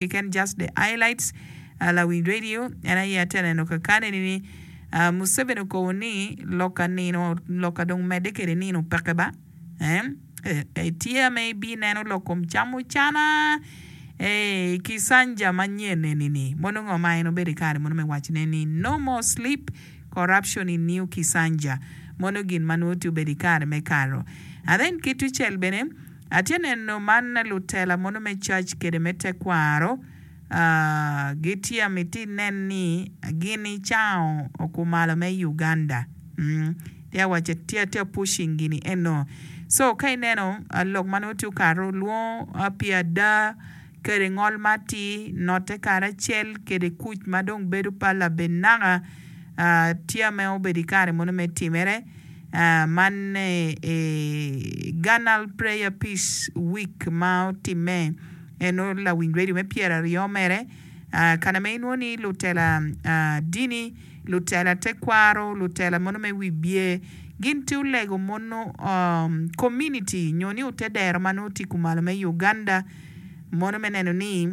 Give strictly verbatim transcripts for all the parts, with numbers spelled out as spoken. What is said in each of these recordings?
Keken just the highlights lawiny radio en aye atye neno kakane ni Museveni okobo ni loka nino loka dong medde kede nino peke ba tye ame ibineno lok kom camucana kisanja manyen eni ni mono ngo ma en obedo ikare mono me wacone ni no more sleep corruption in new kisanja mono gin ma nongo tye obedo ikare me kato and then ki tucel bene Atye neno man lutela mono me cac kede me tekwaro gitye amiti nen ni gin icango kumalo me Uganda tye awaco tye atye pushing gini eno so ka ineno lok ma nongo tye okato lwongo pi ada kede ngol ma atir note karacel kede kuc ma dong bedo pa labenaka tye ma obedo ikare mono me timere Man Ganal Prayer Peace Week ma otimme eno lawiny radio me pyeraryo mere kana ma inwongo ni lutela dini, lutela tekwaro, lutela mono me wibye gin tye olego mono community nyo ni ote dero ma nongo tye kumalo me Uganda mono me neno ni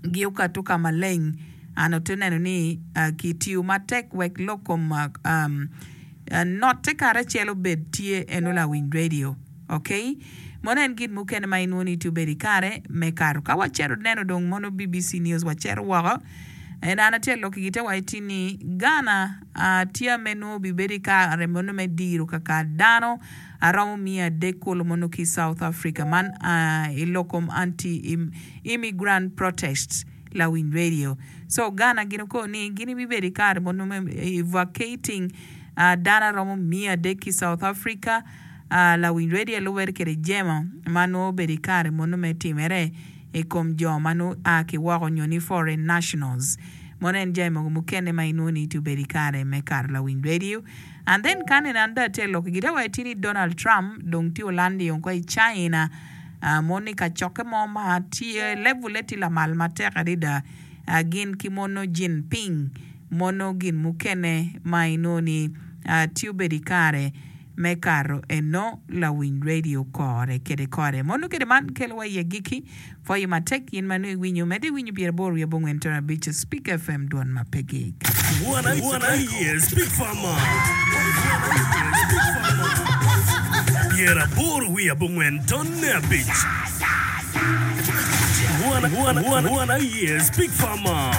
gi okato ka maleng and ote neno ni kitiyo matek wek lok kom note karacel obed tye eno lawiny radio ok mono en gin mukene ma inwongo ni tye obedo ikare me kato ka wacito neno dong mono B B C news wacito woko en an atye alok ki gite wa iti ni Ghana tye ame nongo obibedo ikare mono me diro kakar dano aromo miya adek kulu mono ki South Africa man i lok kom anti immigrant protests lawiny radio. So Ghana gin oko ni gin ibibedo i kare mono me evacuating dano aromo miya adek ki South Africa lawiny radio lubere kede jemo ma nongo obedo i kare mono me timere i kom jo ma nongo a ki woko nyo ni foreign nationals. Mono en jami mogo mukene ma inwongo ni tye obedo i kare me kato lawiny radio. And then ka nene an dong atye ka lok i gita wa itye ni Donald Trump dong tye olandi oko i China mono i kacokke mo ma tye level-le tye lamal matek adada gin ki mono Jinping mono gin mukene ma inongo ni tye obedo i kare me kato eno lawiny radio kore kede kore. Mono kede man kelo wa i agikki pwoyo matek in ma nongo iwinyo medde iwinyo pyeraboro wiye abongwen tara abic Speak F M dwon ma pe gik. Wan aye Speak Farmer pyeraboro wiye abongwen tonne abic. Wan aye Speak Farmer.